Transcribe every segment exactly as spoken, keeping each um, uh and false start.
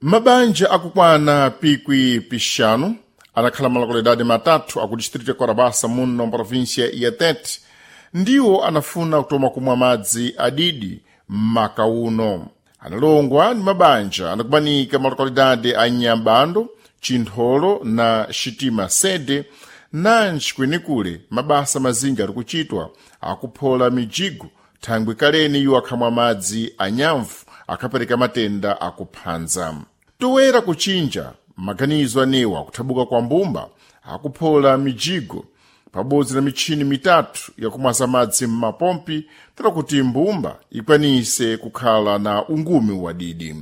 Mabanja akukwana pikwi pixanu anakhala malokalidade matatu aku distrito ya Korabasa muno mprovíncia ya Tete ndiwo anafuna kutoma kumwa madzi adidi m'maka uno. Analongwa ndi mabanja anakumanika malokalidade a Nyambando, Chintholo na Xitima Sede, nanji kwenikule mabasa mazinji ali kuchitwa akuphola mijigo thangwi kaleni iwo akhamwa madzi anyamvu akhapereka matenda akuphanza. Toera kuchinja maganizo anewa akuthabuka kwa mbumba akuphola mijigo pabodzi na mitchini mitatu yakumwaza madzi m'mapompi tera kuti mbumba ikwanise kukhala na ungumi wadidi.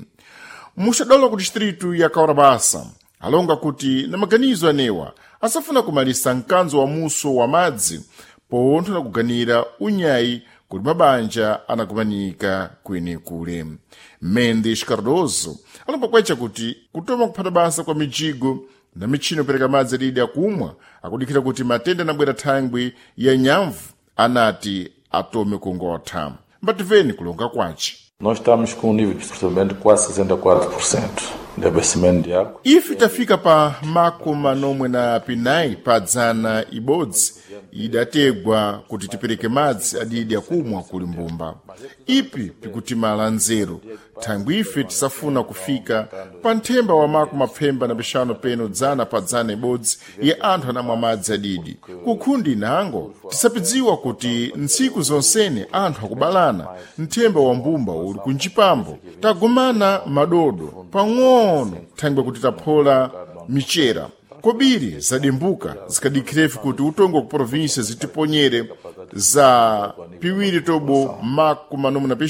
Muxadolo ku distritu ya Kaurabasa alonga kuti na maganizo anewa asafuna kumalisa mkanzo wa muso wa madzi pontho na kuganira unyayi kuti mabanja anakumanika kwenikule. Mendes Cardoso alomba kwacha kuti kutoma kuphata basa kwa mijigo na mitchini yopereka madzi adidi akumwa akudikhira kuti matenda anabwera thangwi ya nyamvu anati atome kungotha. Mbativeni kulonga kwace. Nós estamos com um nível de processamento de quase sessenta e quatro por cento de abastecimento de água. Ife tafika pa makumi nomwe na pinayi pa dzana ibodzi idategwa kuti tipereke madzi adidi akumwa kuli mbumba. Ipi pikutimala nzeru thangwi ife tisafuna kufika pa nthemba wa makumi mapfemba na pixanu peno dzana pa dzana ibodzi ya anthu anamwa madzi adidi. Kukhundi nango tisapidziwa kuti ntsiku zonsene anthu akubalana, nthemba wa mbumba uli kunjipambo. Tagumana madodo pang'ono thangwi kuti taphola michera kobiri zadimbuka zikadikhirefe kuti utongo ku província zitiponyere za piwiri tobo makumi manomwe na pixanu.